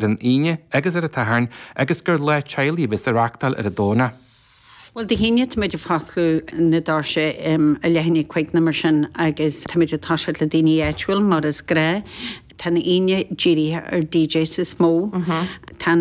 an Aoine agus ar an tSatharn agus gur lá teaghlaigh a bheas á reachtáil ar an Domhnach. Bhuel, Dé hAoine táimid ag foscladh na doirse i leath i ndiaidh 5 nó mar sin agus táimid ag toiseacht le daoine áitiúil mar is gnáth. Tá an Aoine dírithe ar DJs is mó. Tá an.